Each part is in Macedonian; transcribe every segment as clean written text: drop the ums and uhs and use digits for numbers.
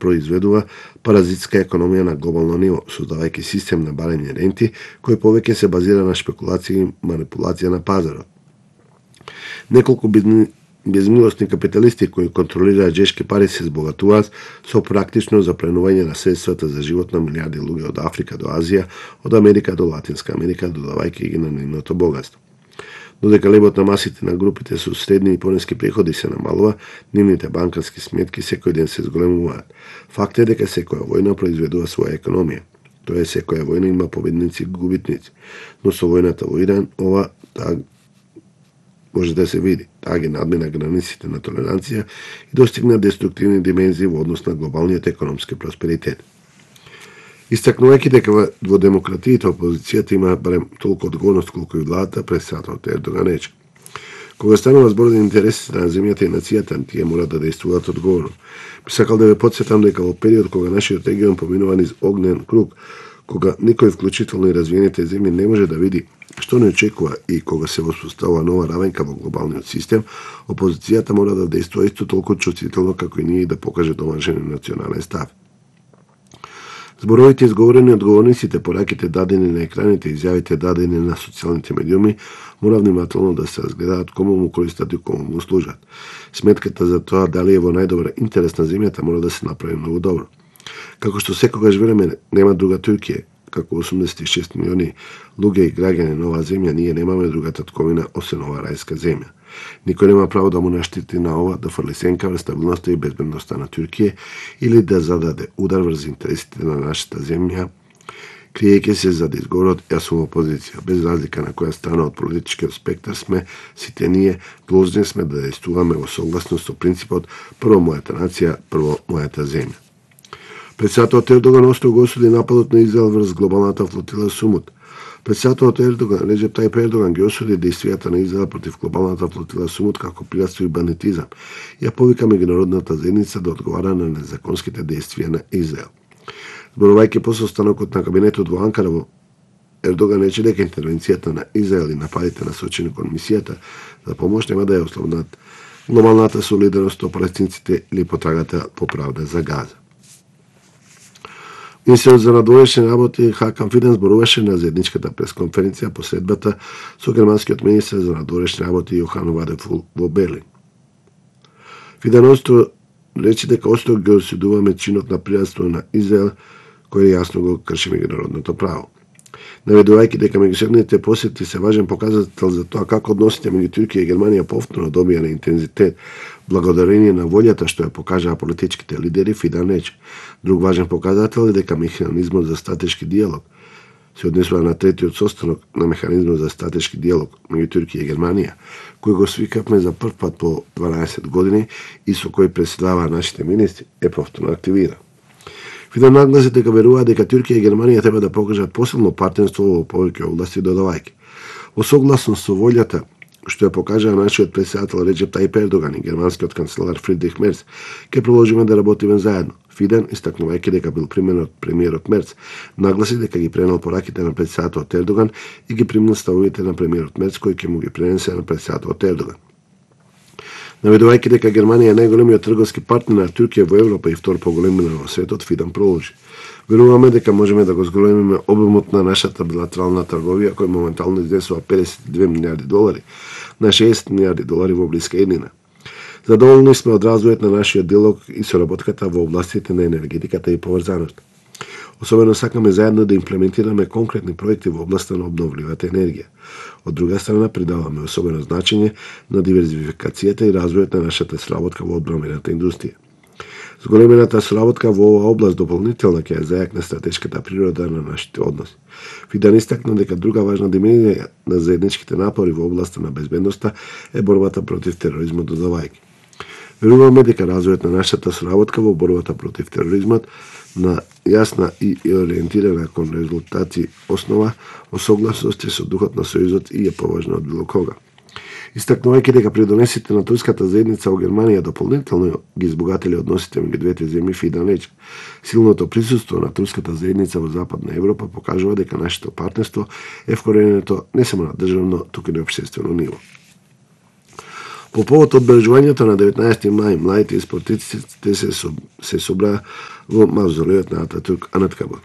произведува паразитска економија на глобално ниво, создавајќи систем на барање ренти, кој повеќе се базира на шпекулација и манипулација на пазарот. Неколку безмилосни капиталисти кои контролираат жешки пари се збогатуваат со практично запленување на средствата за живот на милиарди луѓе од Африка до Азија, од Америка до Латинска Америка, додавајќи ги на нивното богатство. Додека лебот на масите на групите со средни и пониски приходи се намалува, нивните банкарски сметки секој ден се зголемуваат. Факт е дека секоја војна произведува своја економија. Тоа е, секоја војна има победници и губитници, но со војната во Иран ова може да се види. Таа ги надмина границите на толеранција и достигна деструктивни димензии во однос на глобалниот економски просперитет. Истакнувајќи дека во демократиите опозицијата има барем толку одговорност колку и владата, председателот Ердоган рече: кога станува збор за интересите на земјата и нацијата, тие мора да действуваат одговорно. Би сакал да ве потсетам дека во период кога нашиот регион поминува низ огнен круг, кога никој, вклучително и развиените земји, не може да види што не очекува и кога се воспоставува нова равенка во глобалниот систем, опозицијата мора да действува исто толку чувствително како и ние да покаже домашен национален став. Зборовите изговорени од говорниците, пораките дадени на екраните и изјавите дадени на социјалните медиуми мора внимателно да се разгледаат кому му користат и кому му служат. Сметката за тоа дали е во најдобра интерес на земјата мора да се направи многу добро. Како што секогаш велиме, нема друга Туркија, како 86 милиони луѓе и граѓани на оваа земја, ние немаме друга татковина освен оваа рајска земја. Никој нема право да му наштети на ова, да фрли сенка врз стабилноста и безбедноста на Туркија или да зададе удар врз интересите на нашата земја, криејќи се за да изговорот јас сум опозиција. Без разлика на која страна од политичкиот спектар сме, сите ние должни сме да действуваме во согласност со принципот прво мојата нација, прво мојата земја. Председателот Ердоган остро го осуди нападот на Израел врз глобалната флотила Сумут. Председателот Ердоган, Реджеп Тајип Ердоган, ги осуди действијата на Израел против глобалната флотила Сумут како пиратство и бандитизам. Ја повика меѓународната заедница да одговара на незаконските действија на Израел. Зборувајќи по состанокот на кабинетот во Анкара, Ердоган рече дека интервенцијата на Израел и нападите насочени кон мисијата за помош нема да ја ослабнат глобалната солидарност со палестинците или потрагата по правда за Газа. Министерот за надворешни работи Хакан Фиден зборуваше на заедничката пресконференција по средбата со германскиот министер за надворешни работи Јохан Вадефул во Берлин. Фиден остро рече дека остро ги осудуваме чинот на пиратство на Израел, кој јасно го крши меѓународното право. Наведувајќи дека меѓусебните посети се важен показател за тоа како односите меѓу Туркија и Германија повторно добија на интензитет благодарение на волјата што ја покажаа политичките лидери, Фиден рече: друг важен показател е дека механизмот за стратешки диалог се однесува на третиот состанок на механизмот за стратешки диалог меѓу Туркија и Германија, кој го свикавме за прв пат по 12 години и со кој преседаваа нашите министри, е повторно активиран. Фиден нагласи дека верува дека Туркија и Германија треба да покажат посилно партнерство во повеќе области додавајќи. Во согласност со волјата што ја покажаа нашиот председател Реджеп Тајип Ердоган и германскиот канцелар Фридрих Мерц, ќе продолжиме да работиме заедно. Фиден, истакнувајќи дека бил применот премиерот Мерц, нагласи дека ги пренел пораките на председателот Ердоган и ги примил ставовите на премиерот Мерц, кој ќе му ги пренесе на председателот Ердоган. Наведувајќи дека Германија е најголемиот трговски партнер на Туркија во Европа и втор по големина во светот, Фиден продолжи: веруваме дека можеме да го зголемиме обемот на нашата билатерална трговија, кој моментално изнесува 52 милиарди долари на 60 милиарди долари во блиска иднина. Задоволни сме од развојот на нашиот диалог и соработката во областите на енергетиката и поврзаност. Особено сакаме заедно да имплементираме конкретни проекти во областа на обновливата енергија. Од друга страна, придаваме особено значење на диверзификацијата и развојот на нашата соработка во одбрамбената индустрија. Зголемената соработка во оваа област дополнително ќе ја зајакне стратешката природа на нашите односи. Фиден истакна дека друга важна димензија на заедничките напори во областа на безбедноста е борбата против тероризмот додавајќи. Веруваме дека развојот на нашата соработка во борбата против тероризмот на јасна и ориентирана кон резултати основа во согласност со духот на Сојузот и е поважна од било кога. Истакнувајќи дека придонесите на турската заедница во Германија дополнително ги избогатели односите меѓу двете земји, Фиден рече: силното присуство на турската заедница во Западна Европа покажува дека нашето партнерство е вкоренето не само на државно, туку и на општествено ниво. По повод одбележувањето на 19 мај, младите и спортистите се собраа во мавзолеот на Ататурк Анаткабир.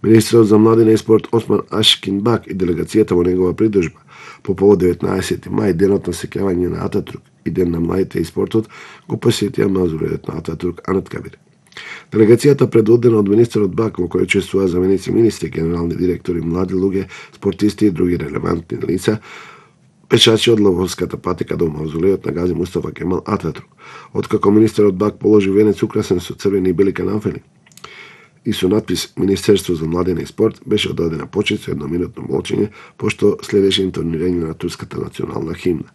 Министерот за младина и спорт Осман Ашкинбак и делегацијата во негова придружба по повод 19 мај, денот на сеќавање на Ататурк и ден на младите и спортот, го посетија мавзолеот на Ататурк Анаткабир. Делегацијата предводена од министерот Бак, во кој учествуваа заменици министри, генерални директори, млади луѓе, спортисти и други релевантни лица, пешачи од ловската патека до мавзолеот на Гази Мустафа Кемал Ататурк. Откако министерот Бак положи венец украсен со црвени и бели канафели и со надпис Министерство за младина и спорт, беше оддадена почит со едноминутно молчење, пошто следеше интонирање на турската национална химна.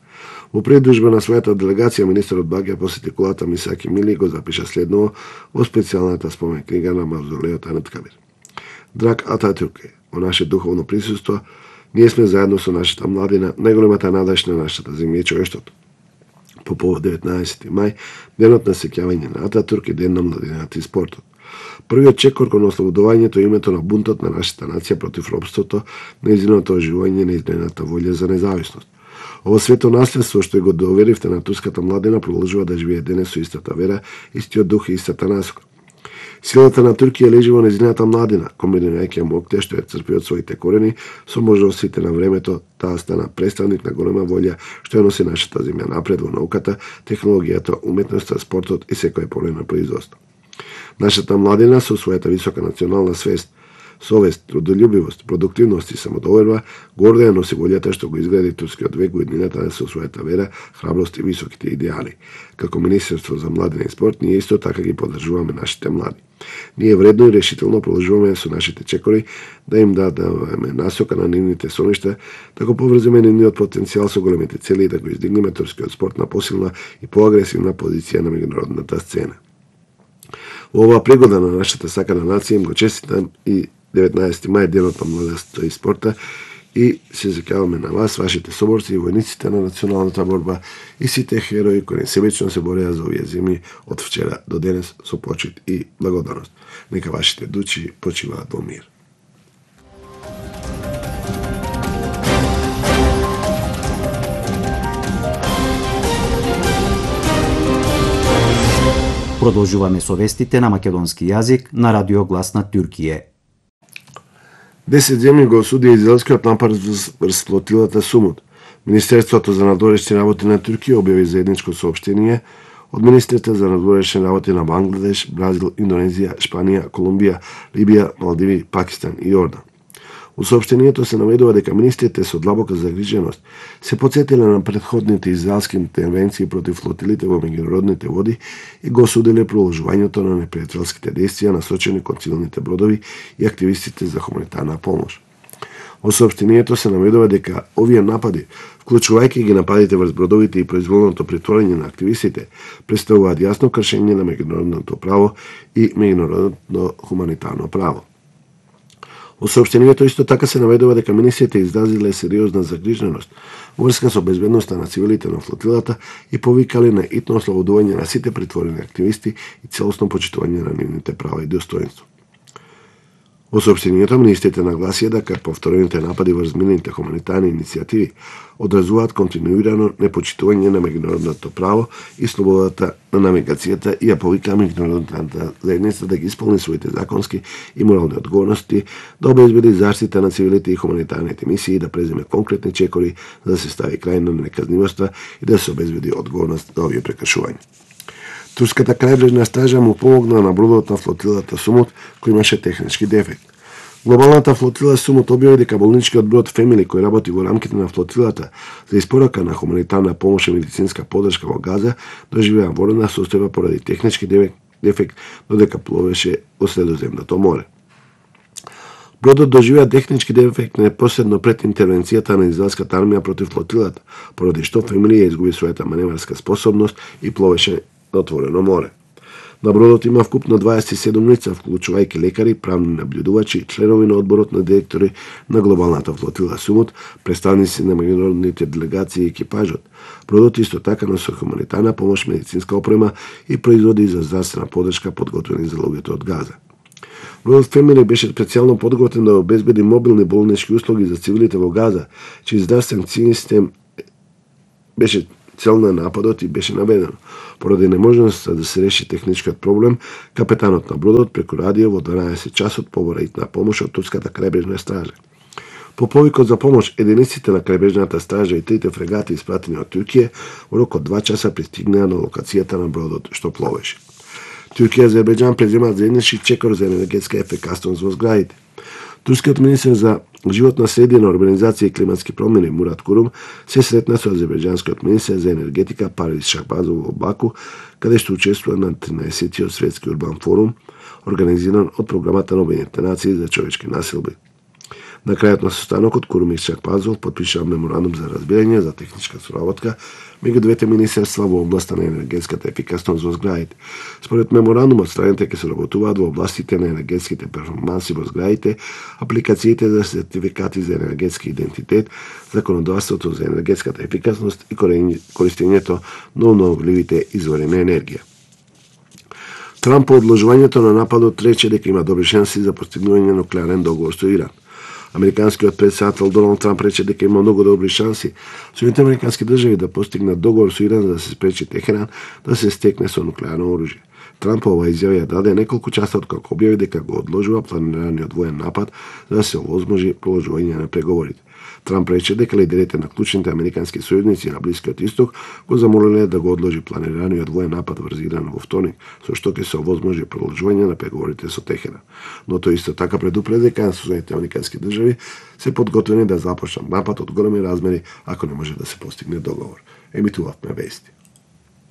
Во придружба на својата делегација, министерот Бак ја посети кулата Мисаки Мили и го запиша следново во специјалната спомен книга на мавзолеот Анаткабир. Драг Ататурке, во наше духовно присуство, ние сме заедно со нашата младина, најголемата надеж на нашата земја и човештвото. По повод 19 мај, денот на сеќавање на Ататурк и ден на младината и спортот. Првиот чекор кон ослободувањето името на бунтот на нашата нација против робството, нејзиното оживување, неизмената волја за независност. Ово свето наследство што го доверивте на турската младина продолжува да живее денес со истата вера, истиот дух и истата насока. Силата на Туркија лежи во нејзината младина, комбинирајќи моќта што ја црпи од своите корени со можностите на времето, таа стана представник на голема волја што ја носи нашата земја напред во науката, технологијата, уметноста, спортот и секој поле на производство. Нашата младина со својата висока национална свест, совест, трудолюбивост, продуктивност и самодоверба гордо ја носи волјата што го изгради турскиот век во иднината со својата вера, храброст и високите идеали. Како Министерство за младина и спорт, ние исто така ги поддржуваме нашите млади. Ние вредно и решително продолжуваме со нашите чекори да им дадеме насока на нивните соништа, да го поврземе нивниот потенцијал со големите цели и да го издигнеме турскиот спорт на посилна и поагресивна позиција на меѓународната сцена. Во оваа пригода на нашата сакана нација им го честитам и 19 мај, денот на младоста и спорта, и се закјаваме на вас, вашите соборци и војниците на националната борба и сите херои кои несебично се бореа за овие земји од вчера до денес со почит и благодарност. Нека вашите души почиваат во мир. Продолжуваме со вестите на македонски јазик на Радио Глас на Туркија. 10 земји го осудија израелскиот напад врз флотилата Сумут. Министерството за надворешни работи на Туркија објави заедничко соопштение од министрите за надворешни работи на Бангладеш, Бразил, Индонезија, Шпанија, Колумбија, Либија, Малдиви, Пакистан и Јордан. У соопштението се наведува дека министрите со длабока загриженост се потсетиле на претходните израелски интервенции против флотилите во меѓународните води и го осудиле продолжувањето на непријателските дејствија насочени кон цивилните бродови и активистите за хуманитарна помош. Во соопштението се наведува дека овие напади, вклучувајќи ги нападите врз бродовите и произволното притворање на активистите, представуваат јасно кршење на меѓународното право и меѓународно хуманитарно право. Во соопштението исто така се наведува дека министрите изразиле сериозна загриженост во врска со безбедноста на цивилите на флотилата и повикале на итно ослободување на сите притворени активисти и целосно почитување на нивните права и достоинство. Во соопштението министрите нагласија дека повторените напади врз мирните хуманитарни иницијативи одразуваат континуирано непочитување на меѓународното право и слободата на навигацијата и ја повикаа меѓународната заедница да ги исполни своите законски и морални одговорности, да обезбеди заштита на цивилите и хуманитарните мисии и да преземе конкретни чекори за да се стави крај на неказнивоста и да се обезбеди одговорност за овие прекршувања. Турската крајбрежна стража му помогна на бродот на флотилата Сумут, кој имаше технички дефект. Глобалната флотила Сумут објави дека болничкиот брод Фемили, кој работи во рамките на флотилата за испорака на хуманитарна помош и медицинска поддршка во Газа, доживеа воена состојба поради технички дефект, додека пловеше во Средоземното море. Бродот доживеа технички дефект непосредно пред интервенцијата на израелската армија против флотилата, поради што Фемили ја изгуби својата маневарска способност и пловеше на отворено море. На бродот има вкупно 27 лица, вклучувајќи лекари, правни наблюдувачи, членови на одборот на директори на глобалната флотила Сумут, представници на меѓународните делегации и екипажот. Бродот исто така носи хуманитарна помош, медицинска опрема и производи за здравствена поддршка подготвени за луѓето од Газа. Бродот Фемили беше специјално подготвен да обезбеди мобилни болнички услуги за цивилите во Газа, чиј здравствен систем беше цел на нападот и беше наведено. Поради неможноста да се реши техничкиот проблем, капетанот на бродот преку радио во 12 часот побора итна помош од турската крајбрежна стража. По повикот за помош, единиците на крајбрежната стража и трите фрегати испратени од Туркија во рок од 2 часа пристигнаа на локацијата на бродот што пловеше. Туркија и Азербејџан преземаат заеднички чекор за енергетска ефикасност во зградите. Турскиот министер за животна средина, урбанизација и климатски промени Мурат Курум се сретна со азербејџанскиот министер за енергетика Парвиз Шахбазов во Баку, каде што учествува на 13-тиот светски урбан форум, организиран од програмата на Обединетите нации за човечки населби. На крајот на состанокот Курум и Шахбазов подпишаа меморандум за разбирање за техничка соработка меѓу двете министерства во областа на енергетската ефикасност во зградите. Според меморандумот, страните ќе соработуваат во областите на енергетските перформанси во зградите, апликациите за сертификати за енергетски идентитет, законодавството за енергетската ефикасност и користењето на обновливите извори на енергија. Трамп по одложувањето на нападот рече дека има добри шанси за постигнување на нуклеарен договор со Иран. Американскиот претседател Доналд Трамп рече дека има многу добри шанси Соединетите американски држави да постигнат договор со Иран за да се спречи Техеран да се стекне со нуклеарно оружје. Трамп ова изјава ја даде неколку часа откако објави дека го одложува планираниот воен напад за да се овозможи продолжување на преговорите. Трамп рече дека лидерите на клучните американски сојузници на Блискиот Исток го замолиле да го одложи планираниот воен напад врз Иран во вторник, со што ќе се овозможи продолжување на преговорите со Техеран. Но тој исто така предупреди дека Соединетите американски држави се подготвени да започнат напад од големи размери ако не може да се постигне договор. Емитувавме вести.